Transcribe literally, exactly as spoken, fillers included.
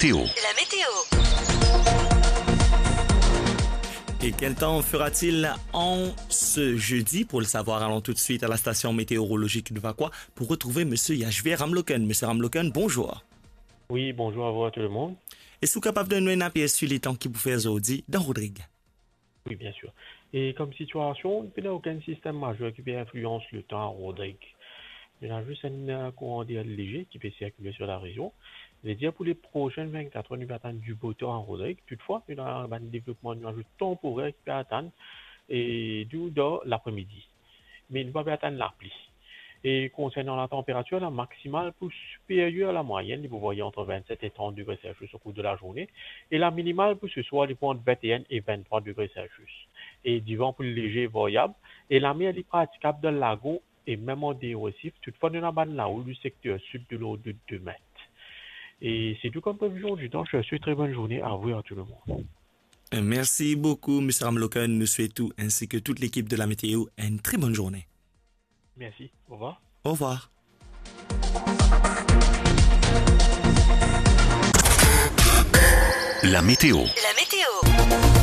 Météo. La météo. Et quel temps fera-t-il en ce jeudi ? Pour le savoir, allons tout de suite à la station météorologique de Vacoas pour retrouver Monsieur Yashvir Ramloken. Monsieur Ramloken, bonjour. Oui, bonjour à vous, à tout le monde. Est-ce que vous êtes capable de nous donner un aperçu du temps qui vous fait aujourd'hui dans Rodrigue ? Oui, bien sûr. E kom sitiasion, pena okenn sistem mazer ki pe inflians letan a Rodrig. Ena zis enn, euh, kouran der leger ki pe sirkile lor larezion. Vedir pou le prosin vennkat er, nou pe atann dibotan a Rodrig. Toutfwa, ena bann devlopman nwaz tanporer ki pe atann, e nou dan lapremidi. Me nou pa pe atann lapli. E konsernan latanperatir, lamaksimal pou siperyer lamwayenn, li pou varye ant vennset e trant degre Celsius o kour de lazourne, e laminimal pou seswar, li pou ant vennteen e venntrwa degre Celsius. E divan pou leger varyab, e lamer li pratikab dan lagon e mem an deor Resif, toutfwa nou ena bann laoul dan sekter sid de lord de de met. E se tou kom previzion ditan. Je vous souhaite une très bonne journée à vous et à tout le monde. Merci beaucoup, Monsieur Ramloken. Nous souhaitons, ainsi que toute l'équipe de la météo, une très bonne journée. Merci. Au revoir. Au revoir. La météo. La météo.